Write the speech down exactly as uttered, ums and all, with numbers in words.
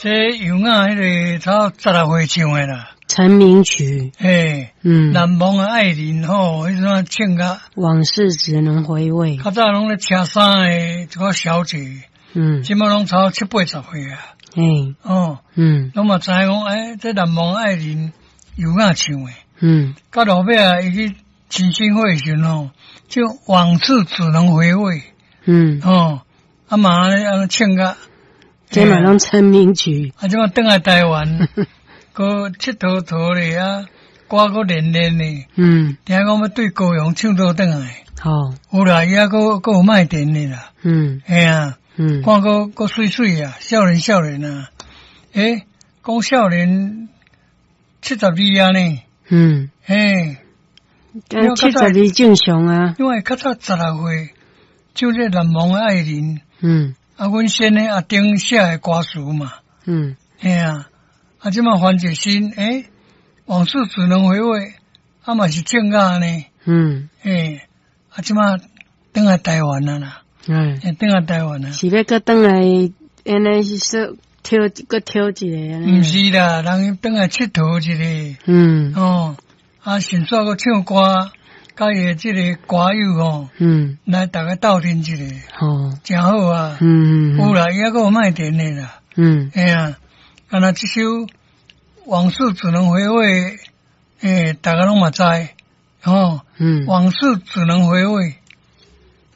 這尤雅彼个差十六歲唱的啦。成名曲。嘿，嗯，難忘的愛人吼，彼陣唱甲往事只能回味。較早攏咧車衫的一個小姐，嗯，這馬攏超七八十歲啊。嘿，哦，嗯，攏嘛知影講，欸，這難忘的愛人尤雅唱的。嗯，到落尾啊，伊去真心會時陣吼，就往事只能回味。嗯，哦，啊嘛按呢唱甲，這嘛攏成名曲。啊，這馬轉來台灣，閣𨑨迌迌咧啊，歌閣練練咧。嗯，聽講欲對高雄唱倒轉來。好，有啦，伊猶閣閣有賣電的啦。嗯，嘿啊，嗯，看閣閣媠媠啊，少年少年啊，欸，講少年七十二啊呢。嗯，嘿，七十二正常啊。因為較早十六歲，唱這難忘的愛人。嗯，啊，阮先生阿丁寫的歌詞嘛。嗯，嘿啊，啊，這馬翻一新，欸，往事只能回味，啊嘛是正雅呢。嗯，嘿，啊，這馬轉來台灣啊啦。嗯，轉來台灣啊。是欲閣轉來，按呢是說跳，閣跳一个按呢？毋是啦，人轉來𨑨迌一下。嗯。哦，啊，順紲閣唱歌，佮伊的這个歌友吼，嗯，來逐家鬥陣一下。哦，誠好啊。嗯嗯。有啦，伊猶閣有賣電的啦。嗯。嘿啊，敢若這首《往事只能回味》，欸，逐家攏嘛知，吼。嗯。往事只能回味。